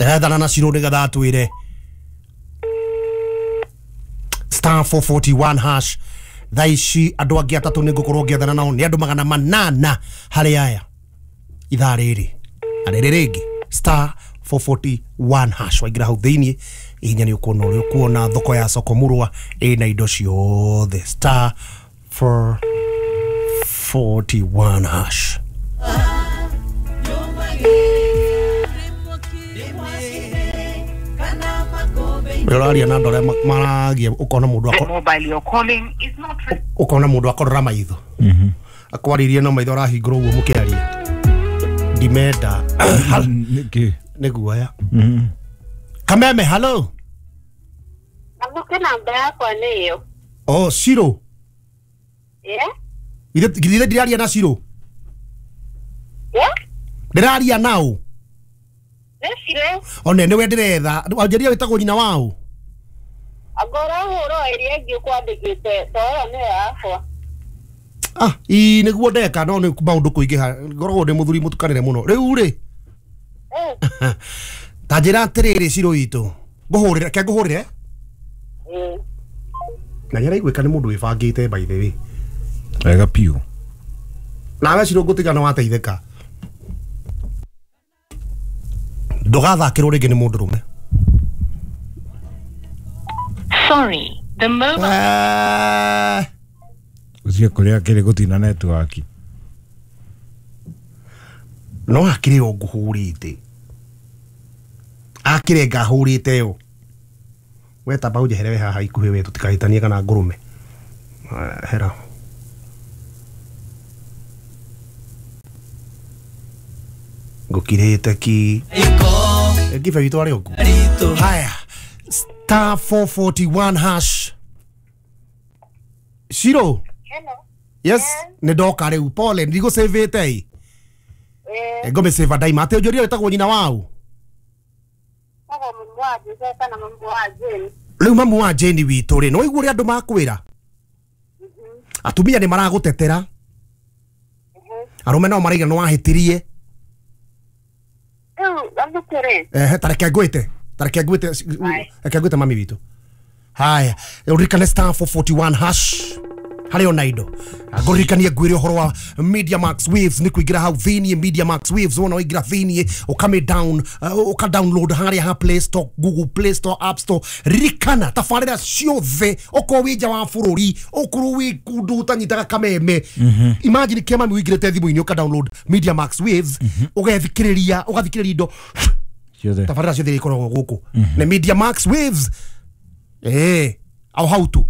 Ndĩrethana na Shiro nĩgetha atwĩre star 441 hash. Thaa ici andũ angĩ atatũ nĩ ngũkorwo ngĩethana nao, nĩ andũ 800 harĩ aya ithaa rĩrĩ na rĩrĩ rĩngĩ. Star 441 hash, waingĩra hau thĩiniĩ ihinya nĩ ũkuona ũrĩa ũkuona thoko ya soko murwa ĩna indo ciothe. Star 441 hash. Ũraria na andũ arĩa maragia, ũkona mũndũ ũkona mũndũ akorora maitho, akwarĩrie no maitho arahingũra ũguo mũkĩaria. Ndimenda nĩ guoya. Kameme, hello. Amuke, namba yakwa nĩ ĩyo. Oh, Shiro. Yeah. Githĩ ndĩraria na Shiro? Yeah. Ndĩraria nao. Nĩ Shiro. One nĩwe ndĩretha. Wanjĩria wĩtagwo nyina wao? Angorwo ũhũro ĩrĩa ĩngĩ ũkwandĩkĩte, to ĩyo nĩyo yakwa. Ah, ii nĩguo ndeka, no nĩ maũndũ kũingĩha. Ngoragwo ndĩ mũthuri mũtukanĩre mũno. Rĩu rĩ, ta njĩra atĩrĩrĩ Shiro witũ, ngũhũrĩre, ke ngũhũrĩre? Na nĩ araiguĩka nĩ mũndũ wĩbangĩte, by the way. Wega piũ. Nawe Shiro ngũtiga nĩ wateithĩka. Ndũgathakĩrwo rĩngĩ nĩ mũndũrũme. Sorry, the mobile Ũcio kũrĩa kĩrĩ gũtina network. No akĩrĩ o ngũhũrĩte. Akĩrĩ ngahũrĩte yo. We tamba ũnjehere we haha ikuhĩ we, tũtikahĩtanie kana ngũrũme. Hera. Ngũkirĩte ki. Ngibe witũ arĩ ũguo. Haya. Star 441 hash. Shiro. Hello. Yes, nĩ ndoka rĩu. Pole, ndigũcĩvĩte ĩ. Ngũmĩcĩva ndaima. Atĩ ũnjũrie wĩtagwo nyina wao? Rĩu mamu wa Jane witũ rĩ, no ũigue ũrĩa andũ makwĩra? Atumia nĩ maragũtetera. Arũme nao maraiga nĩ wahĩtirie. Ehe, ta reke ngwĩte. Ta reke ngwĩte, reke ngwĩte mami witũ. Haya, ũririkane star 441 hash. Harĩ ona indo. Ngũririkanie ngwĩre ũhoro wa Media Max Waves, nĩ kũingĩra hau thĩiniĩ Media Max Waves, wona waingĩra thĩiniĩ ũkame down, ũka download harĩa ha Play Store, Google Play Store, App Store. Ririkana tabarĩra ciothe, okorwo wĩ nja wa bũrũri, okorwo wĩ kũndũ ũtanyitaga kameme. Imagine kĩa mami ũingĩrĩte thimũ-inĩ ũka download Media Max Waves, ũgethikĩrĩria, ũgathikĩrĩria indo ciothe. Tabarĩra ciothe ikoragwo gũkũ. Nĩ Media Max Waves. Au hau tu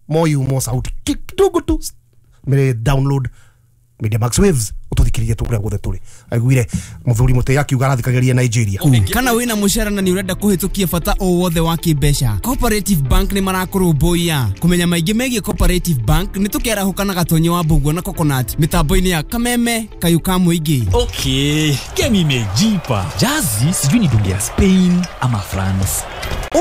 moyo mo sauti kidogo tu mere download Media Max Waves ututhikiririe tu kuria guothe turi. Aiguire muthuri muti akiuga arathikagĩria Nigeria. Kana wĩna mũcara na nĩ ũrenda kũhĩtũkia bata o wothe wa kĩmbeca, Cooperative Bank nĩ marakũrũmbũiya. Kũmenya maingĩ megiĩ Cooperative Bank nĩ tũkĩarahũka na Gatonyo wa Mbũguo na Coconut mĩtambo-inĩ ya Kameme Kayũ ka Mũingĩ. Okay, game imejipa. Jazi sijui ni dunge ya Spain ama France.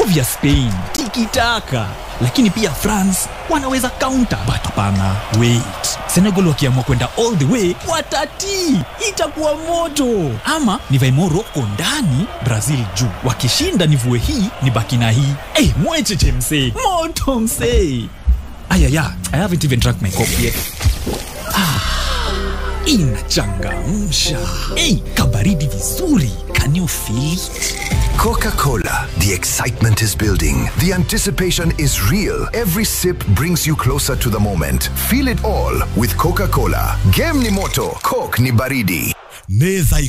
Ovya Spain, tikitaka. Lakini pia France wanaweza counter, but hapana, wait. Senegal wakiamua kwenda all the way watati, itakuwa moto. Ama nivae Morocco ndani, Brazil juu. Wakishinda nivue hii, nibaki na hii. Eh, mwecheche msee, moto msee. Ayaya, I haven't even drank my coffee yet. Inachangamsha. Hey, kabaridi vizuri. Can you feel it? Coca-Cola. The excitement is building. The anticipation is real. Every sip brings you closer to the moment. Feel it all with Coca-Cola. Game ni moto, Coke ni baridi. Nĩ thaa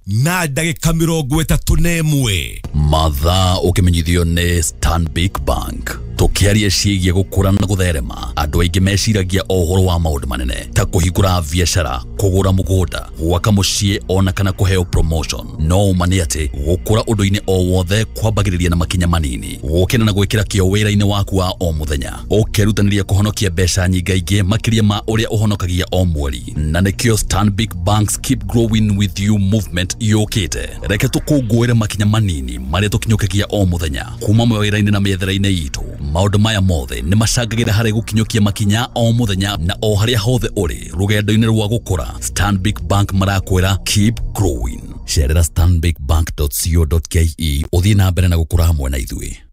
10:31. Mathaa ũkĩmenyithio nĩ Stanbic Bank. Tũkĩaria ciĩgiĩ gũkũra na gũtherema, andũ aingĩ meciragia o ũhoro wa maũndũ manene ta kũhingũra biacara, kũgũra mũgũnda, gwaka mũciĩ ona kana kũheo promotion. No ũma nĩ atĩ gũkũra ũndũ-inĩ o wothe kwambagĩrĩria na makinya manini, gũkĩra na gwĩkĩra kĩo wĩra-inĩ waku wa o mũthenya, ũkerutanĩria kũhonokia mbeca nyingaingĩ makĩria ma ũrĩa ũhonokagia o mweri. Na nĩkĩo Stanbic Bank's Keep Growing With You movement yũkĩte. Reke tũkũngũĩre makinya manini marĩa tũkinyũkagia o mũthenya kuma mawĩra-inĩ na mĩethere-inĩ itũ. Maũndũ maya mothe nĩ macangagĩra harĩ gũkinyũkia makinya o mũthenya na o harĩa hothe ũrĩ rũgendo-inĩ rwa gũkũra. Stanbic Bank marakwĩra keep growing. Cerera stanbicbank.co.ke ũthiĩ na mbere na gũkũra hamwe na ithuĩ.